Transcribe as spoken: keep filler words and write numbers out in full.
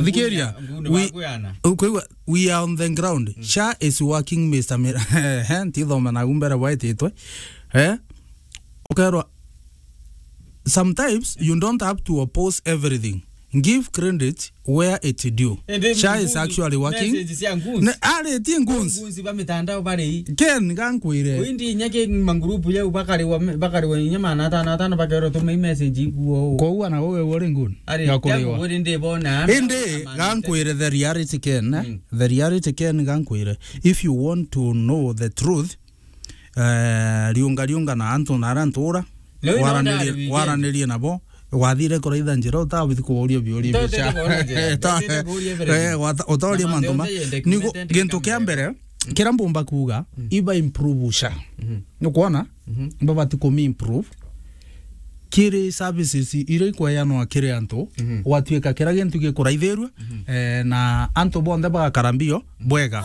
Thikiria, nguni we, bakuyana. Ukwigua, we are on the ground. Mm. SHA is working, Mister Mira. Ehe, ntithoma nagu mbere bwaititwe. Eh? Ukerwa, sometimes you don't have to oppose everything. Give credit where it due. Indi SHA is ngunzi, actually working. Message cia ngunzi. Ne, aritie ngunzi. Ngunzi ba mitandao bari. Ken, gankwire. Windi inya ki mangurupu yau bakariwa, bakariwa inya maana atano atano bakerwa tuma i message ikuo. Koguo na wewe uri ngun. Ari, ya kuriwa. Uri ndi bona. Indi, ama-, gankwire the reality Ken, eh? Mm. The reality Ken gankwire. If you want to know the truth, eh, riunga riunga na antu na ara ntura, leo ino waranirie, ndari weekend. Waranirie nabo, wathire kuraitha njira, utabithi kuuria biuria. Nto-, bicha. Utete kuuria njira. Ta-, utete kuuria everything. Eh, wata-, utauria na mantu ma-, yonthe yende nigo, kiumete gintu kia mbere, kira mbumba kuuga, mm, iba improve SHA. Mhm. Nukwona? Mhm. Babati kumi improve. Kiri services iria ikweanwa kiri antu, mhm, gwatuika kira gintu gikuraithirua, mhm, eh, na antu bonthe bagakara mbio bwega.